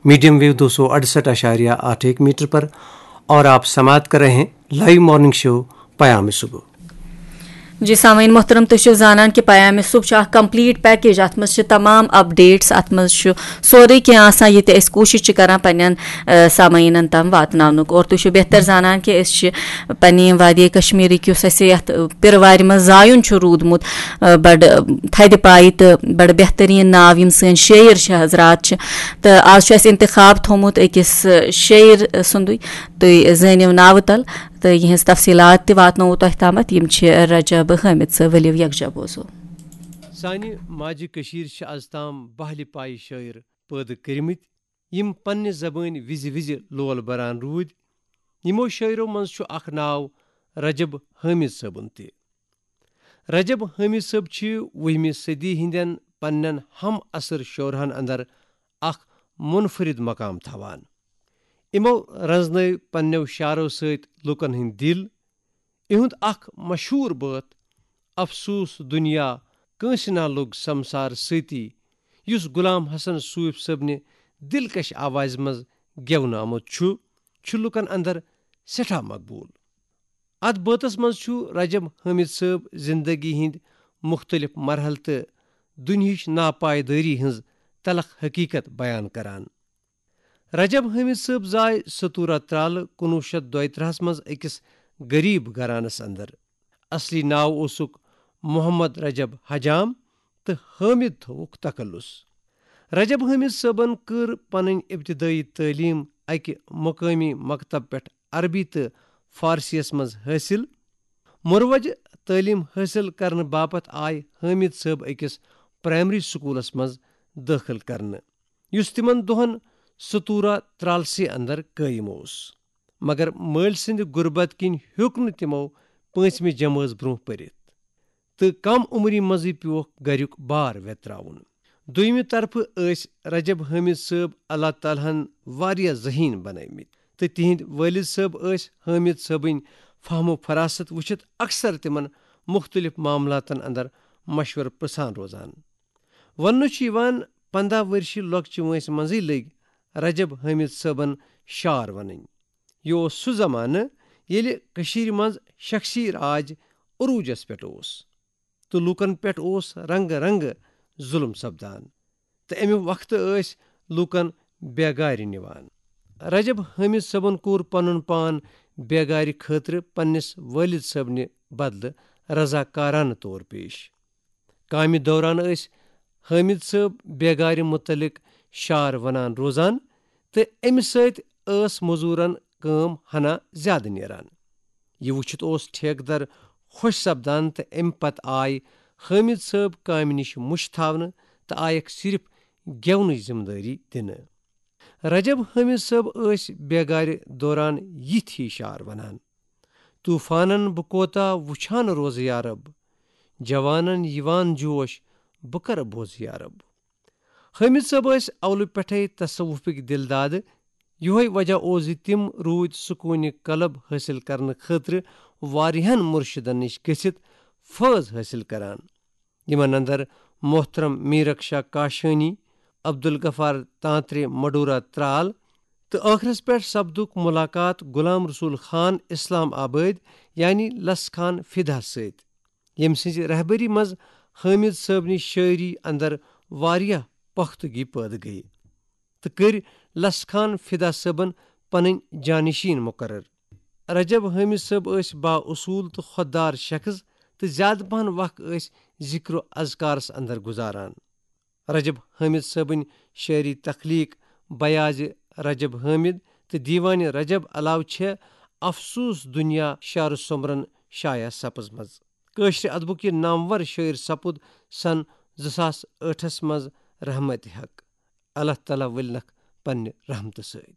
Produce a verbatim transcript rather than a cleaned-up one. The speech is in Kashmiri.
मीडियम वेव दो सौ अड़सठ आशारिया आठ एक मीटर पर। और आप समाप्त कर रहे हैं लाइव मॉर्निंग शो पयाम सुबह। جی سامعین محترم، تُہۍ چھِو زانان کہِ پیام صبح چھُ اکھ کمپلیٖٹ پیکیج۔ اتھ منٛز چھِ تمام اپڈیٹس، اتھ منٛز چھُ سورُے کینٛہہ آسان، یہِ تہِ أسۍ کوٗشِش چھِ کران پننٮ۪ن، آ، سامعیٖنن تام واتناونُک۔ اور تُہۍ چھِو بہتر زانان کہِ أسۍ چھِ پننہِ وادی کشمیرٕکۍ، یُس اَسہِ یتھ، آ، پِرٕ وارِ منٛز زایُن چھُ روٗدمُت، آ، بڑٕ، آ، تھدِ پایہِ تہٕ بڑٕ بہتریٖن ناو یِم سٲنۍ شٲعر چھِ حضرات چھِ۔ تہٕ آز چھُ اَسہِ انتخاب تھوٚومُت أکِس، آ، شٲعر، آ، سُنٛدُے۔ تُہۍ زٲنِو ناوٕ تل تہٕ یِہٕنٛز تفصیٖلات تہِ واتناوو تۄہہِ تامَتھ۔ یِم چھِ رجب حٲمد صٲب۔ ؤلِو یکجاہ بوزو۔ سانہِ ماجہِ کٔشیٖرِ چھِ از تام بہلہِ پایہِ شٲعر پٲدٕ کٔرمٕتۍ، یِم پننہِ زبٲنۍ وِزِ وِزِ لول بران روٗدۍ۔ یِمو شٲعرو منٛز چھُ اکھ ناو رجب حٲمد صٲبُن تہِ۔ رجب حٲمد صٲب چھِ وُہمہِ صدی ہٕنٛدٮ۪ن پننٮ۪ن ہم عصر شعرہن اندر اکھ منفرد مقام تھاوان۔ یِمو رنزنٲوۍ پننٮ۪و شعرو سۭتۍ لوٗکن ہٕنٛدۍ دِل۔ یِہُنٛد اکھ مشہوٗر بٲتھ، "افسوس دُنیا، کٲنٛسہِ نا لوٚگ سمسار سۭتی"، یُس غلام حسن صوٗفۍ صٲبنہِ دلکش آوازِ منٛز گٮ۪ونہٕ آمُت چھُ، چھُ لوٗکن اندر سٮ۪ٹھاہ مقبوٗل۔ اتھ بٲتس منٛز چھُ رجب حٲمد صٲب زندگی ہٕنٛدۍ مُختٔلِف مرحلہٕ تہٕ دُنیہٕچ ناپایدٲری ہٕنٛز تلخ حقیقت بیان کران۔ رجب حٲمد صٲب زاے ستورہ ترالہٕ کُنوُہ شیٚتھ دۄیہِ ترٕٛہس منٛز أکِس غریب گھرانس اندر۔ اصلی ناو اوسُکھ محمد رجب حجام تہٕ حٲمد تھووُکھ تخلص۔ رجب حٲمد صٲبن کٔر پنٕنۍ ابتدٲیی تعلیٖم اکہِ مقٲمی مکتب پٮ۪ٹھ عربی تہٕ فارسیس منٛز حٲصِل۔ مروج تعلیٖم حٲصِل کرنہٕ باپتھ آے حٲمد صٲب أکِس پرائمری سکولس منٛز دٲخل کرنہٕ، یُس تِمن دۄہن ستورہ ترالسٕے اندر قٲیِم اوس۔ مگر مٲلۍ سٕنٛدِ غربت کِنۍ ہیوٚک نہٕ تِمو پٲنٛژمہِ جمٲژ برونٛہہ پٔرِتھ تہٕ کم عمری منٛزٕے پیوکھ گرُک بار ویتراوُن۔ دوٚیمہِ طرفہٕ ٲسۍ رجب حٲمد صٲب اللہ تعالیٰ ہن واریاہ ذہین بنٲومٕتۍ تہٕ تِہنٛدۍ والد صٲب ٲسۍ حٲمد صٲبٕنۍ فہم و فراست وٕچھِتھ اکثر تِمن مُختٔلِف معاملاتن اندر مشورٕ پرژھان روزان۔ وننہٕ چھُ یِوان، پنٛداہ ؤرشہِ لۄکچہِ وٲنٛسہِ منٛزٕے لٔگۍ رجب حٲمد صٲبن شعر ونٕنۍ۔ یہِ اوس سُہ زمانہٕ ییٚلہِ کٔشیٖرِ منٛز شخصی راج عروٗجس پٮ۪ٹھ اوس تہٕ لوٗکن پٮ۪ٹھ اوس رنگہٕ رنگہٕ ظُلم سپدان تہٕ امہِ وقتہٕ ٲسۍ لوٗکن بیگارِ نِوان۔ رجب حٲمد صٲبن کوٚر پنُن پان بیگارِ خٲطرٕ پننِس والد صٲبنہِ بدلہٕ رضاکارانہٕ طور پیش۔ کامہِ دوران ٲسۍ حٲمد صٲب بیگارِ مُتعلق شعر ونان روزان تہٕ امہِ سۭتۍ ٲس مزوٗرن کٲم ہنا زیادٕ نیران۔ یہِ وٕچھِتھ اوس ٹھیکہٕ در خۄش سپدان تہٕ امہِ پتہٕ آے حٲمد صٲب کامہِ نِش مُش تھاونہٕ تہٕ آیکھ صرف گٮ۪ونٕچ ذمہٕ دٲری دِنہٕ۔ رجب حٲمد صٲب ٲسۍ بیگارِ دوران یِتھۍ ہی شعر ونان: "طوفانن بہٕ کوتاہ وُچھان روزٕ یا رب، جوانن یِوان جوش بہٕ کرٕ بوزٕ یا رب۔" حٲمد صٲب ٲسۍ اولہٕ پٮ۪ٹھے تصوفٕکۍ دِل دادٕ۔ یِہوے وجہ اوس زِ تِم روٗدۍ سکوٗنہِ قلب حٲصِل کرنہٕ خٲطرٕ واریاہن مُرشِدن نِش گٔژھِتھ فٲض حٲصِل کران، یِمن اندر محترم میرک شاہ کاشانی، عبدالغفار تانترے مڈورہ ترال تہٕ ٲخرس پٮ۪ٹھ سپدُکھ مُلاقات غلام رسول خان اسلام آبٲدۍ یعنی لس خان فدا سۭتۍ، ییٚمہِ سٕنٛزِ رہبری منٛز حٲمد صٲبنہِ شٲعری اندر واریاہ پختگی پٲدٕ گٔیہِ تہٕ کٔرۍ لس خان فدا صٲبن پنٕنۍ جانشین مقرر۔ رجب حٲمد صٲب ٲسۍ با اصوٗل تہٕ خۄددار شخص تہٕ زیادٕ پہن وق ٲسۍ ذکر و اذکارس اندر گُزاران۔ رجب حٲمد صٲبٕنۍ شٲعری تخلیق بیاض رجب حٲمد تہٕ دیوانِ رجب علاوٕ چھےٚ افسوس دُنیا شعر سومبرن شایع سپٕزمٕژ۔ کٲشرِ ادبُک یہِ نامور شٲعر سپُد سن زٕ ساس ٲٹھس منٛز رحمتِ حق۔ اللہ تعالیٰ ؤلنکھ پننہِ رحمتہٕ سۭتۍ۔